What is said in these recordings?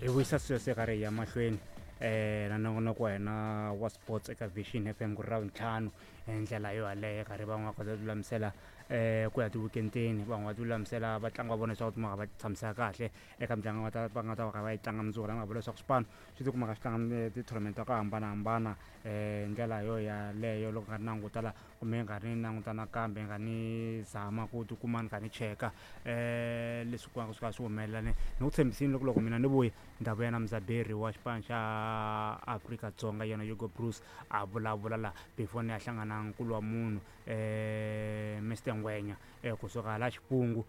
Hi vuyisa sweswi karhi hi ya mahlweni na nongonoko wa hina wa sports eka Vision FM ku ri Ravuntlhanu hi ndlela yo yaleyo karhi van'wana va kota ku lulamisela ku ya ti-weekend-eni van'wana va ti lulamisela vatlangi va vona leswaku va tshamisa kahle eka mitlangu va ta va nga ta va kha va yi tlanga mundzuku la nga vula leswaku swipano swi tikumaka swi tlanga ti-tournament ta ku hambanahambana ndlela yo yaleyo loko nga ri languta la kumbe ni karhi ni languta nakambe ni karhi ni zama ku tikuma ni karhi ni cheka leswi ku swi kha swi humelela ni ni ku tshembisile loko loko mina ni vuya ni ta vuya na mudzaberi wa xipano xa Afrika-Dzonga yena Hugo Broos a vulavula la before ni ya hlangana na nkulu wa munhu Mister Ngwenya kusuka hala Xipungu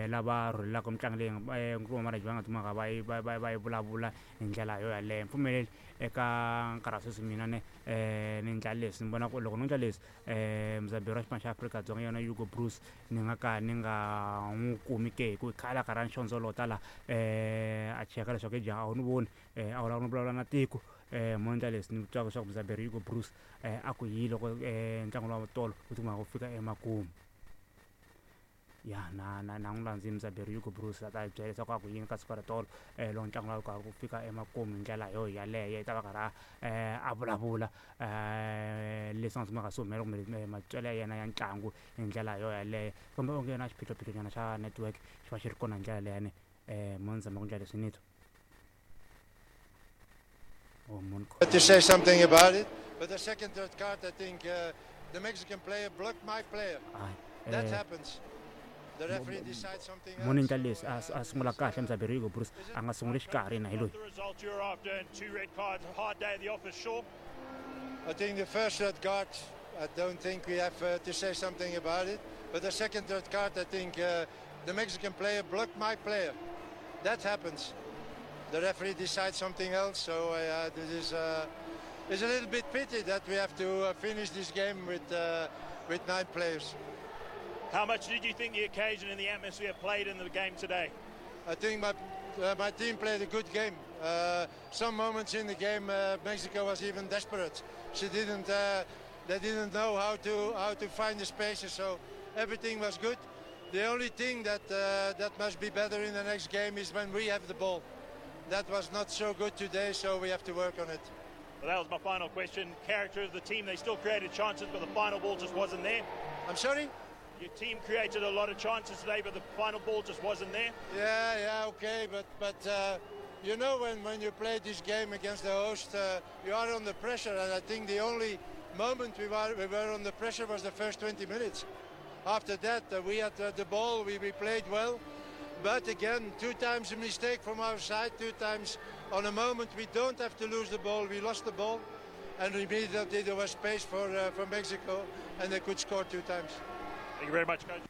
lava rhulelaka mitlangu leyi nkulu wa va nga kumaka va yi va va va yi vulavula hi ndlela yo yaleyo mpfumeleli eka nkarhi wa sweswi mina ne ni endla leswi ni vona ku loko no endla leswi mudzaberi wa xipano xa Afrika-Dzonga yona Hugo Broos ni nga ka ni nga n'wi kumi ke hi ku khale a karhi a ni xondzolota la a cheka leswaku he jaha a wu ni voni a wu lava no vulavula na tiko mo endla leswi ni twaka leswaku mudzaberi Hugo Broos a ku yi loko ntlangu lowa tolo wu tikuma wu fika emakumu. Ya na na na n'wi landzile mudzaberi Hugo Broos a ta hi byela leswaku a ku yini ka siku ra tolo loko ntlangu lowu karhi ku fika emakumu hi ndlela yo yaleyo i ta va karhi a a vulavula leswi nga tshamaka swi humelela kumbe matitwelo ya yena ya ntlangu hi ndlela yo yaleyo kumbe onge na xiphiqophiqo nyana xa network xi va xi ri kona hi ndlela leyani mo ni zama ku endla leswi ni twa oh, mun To say something about it, but the second red card, I think the Mexican player blocked my player. Hayi That happens. The referee decides something mo ni else. endla leswi a sungula kahle mudzaberi Hugo Broos a nga sunguli xikarhi na hi loyi The result you're after and two red cards. A hard day at the office, sure. I think the first red card, I don't think we have to say something about it. But the second red card, I think the Mexican player blocked my player. That happens. The referee decides something else. So this is it's a little bit pity that we have to finish this game with 9 players. How much did you think the occasion and the atmosphere played in the game today? I think my team played a good game. Some moments in the game, Mexico was even desperate. She didn't, they didn't know how to find the spaces. So everything was good. The only thing that must be better in the next game is when we have the ball. That was not so good today, so we have to work on it. Well, that was my final question. Character of the team, they still created chances, but the final ball just wasn't there. I'm sorry? Your team created a lot of chances today, but the final ball just wasn't there. Yeah, yeah, okay, but you know when you play this game against the host, you are under pressure, and I think the only moment we were under pressure was the first 20 minutes. After that, we had the ball, we played well, but again, 2 times a mistake from our side, 2 times on a moment we don't have to lose the ball, we lost the ball, and immediately there was space for Mexico, and they could score 2 times. Thank you very much, Coach.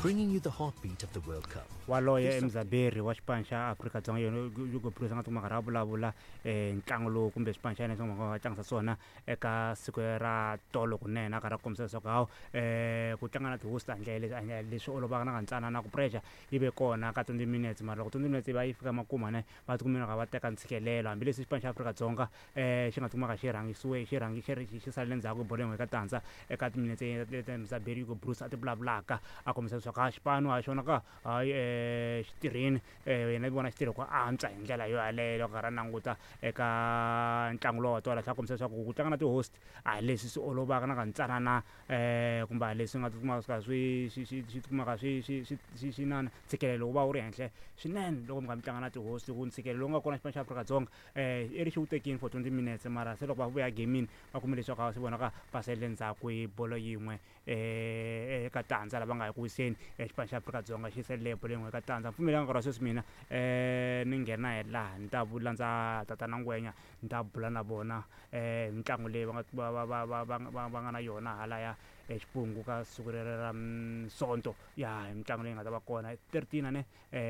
Bringing you the heartbeat of the World Cup. Waloye i mudzaberi wa xipano xa Afrika-Dzonga yena Hugo Broos a nga tikuma karhi a vulavula ntlangu lowu kumbe xipano xa yena xi nga tlangisa swona eka siku ra tolo kunene a karhi a kombisa leswaku hawu ku tlanga na ti-host handle leswi olovaka na ka na ku pressure yi ve kona ka 20 minutes mara loko 20 minutes yi va yi fika makumu ne va tikumile ka va teka ntshikelelo hambileswi xipano xa Afrika-Dzonga xi nga tikumaka xi rhangisiwe xi rhangi xi xi salele ndzhaku hi bolo yin'we eka tandza eka timinetse leti mudzaberi Hugo Broos a ti vulavulaka a kombisa leswaku ha xipano ha xona ka hayi xi tirhini yena i vona xi tirhe ku antswa hi ndlela yo yaleyo loko karhi a languta eka ntlangu lowu wa tolo a kombisa leswaku ku tlanga na ti-host a hi leswi swi olovaka na kantsanana kumbe a leswi nga tikumaka swi kha swi swi swi swi tikumaka swi swi swi swi swi na ntshikelelo wu va wu ri henhla swinene loko mi kha mi tlanga na ti-host ku ntshikelelo lowu nga kona xipano xa Afrika-Dzonga i ri xi wu tekini for 20 minutes mara se loko va vuya gamini va kume leswaku a swi vonaka va salele ndzhaku hi bolo yin'we eka tandza lava nga ya ku wiseni xipano xa Afrika-Dzonga xi salele bolo yin'we eka tandza mpfumelelanga nkarhi wa sweswi mina ni nghena hi laha ni ta landza tatana Ngwenya ni ta bula na vona mitlangu leyi va nga va va va va va va nga na yona halaya eXipungu ka siku rero ra Sonto ya hi mitlangu leyi nga ta va kona 13 ane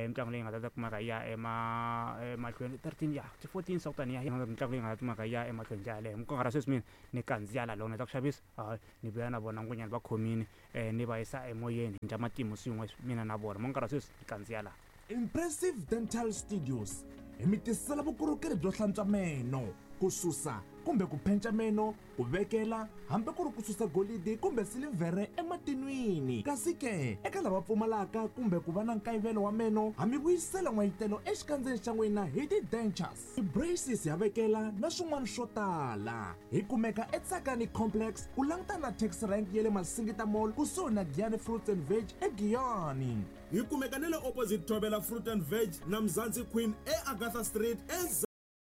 mitlangu leyi nga ta kumeka yi ya emahlweni 13 ya ti 14 swa ku taniya mitlangu leyi nga ta kumeka yi ya emahlweni ndlela yaleyo nkarhi wa sweswi mina ni kandziya la loko ni heta ku xavisa hayi ni vuya na vona ngwenyana va khomini ni va yisa emoyeni hi ndla matimu swin'we mina na vona mo nkarhi wa sweswi ni kandziya laha. Impressive Dental Studios hi mi tisela vukorhokeri byo hlantswa meno ku susa kumbe ku phenca meno, ku vekela hambi ku ri ku susa golidi kumbe silivhere ematinwini. Kasi ke, eka lava pfumalaka kumbe ku va na nkayivelo wa meno, ha mi vuyisela n'wayitelo exikandzeni xa n'wina hi ti-dentures, ti-braces ha vekela na swin'wana swo tala. Hi kumeka eTsakani Complex ku langutana na taxi rank ya le Masingita Mall kusuhi na Giyani Fruits and Veg eGiyani. Hi kumeka na le opposite Thobela Fruit and Veg na Mzansi Queen eAgatha Street e.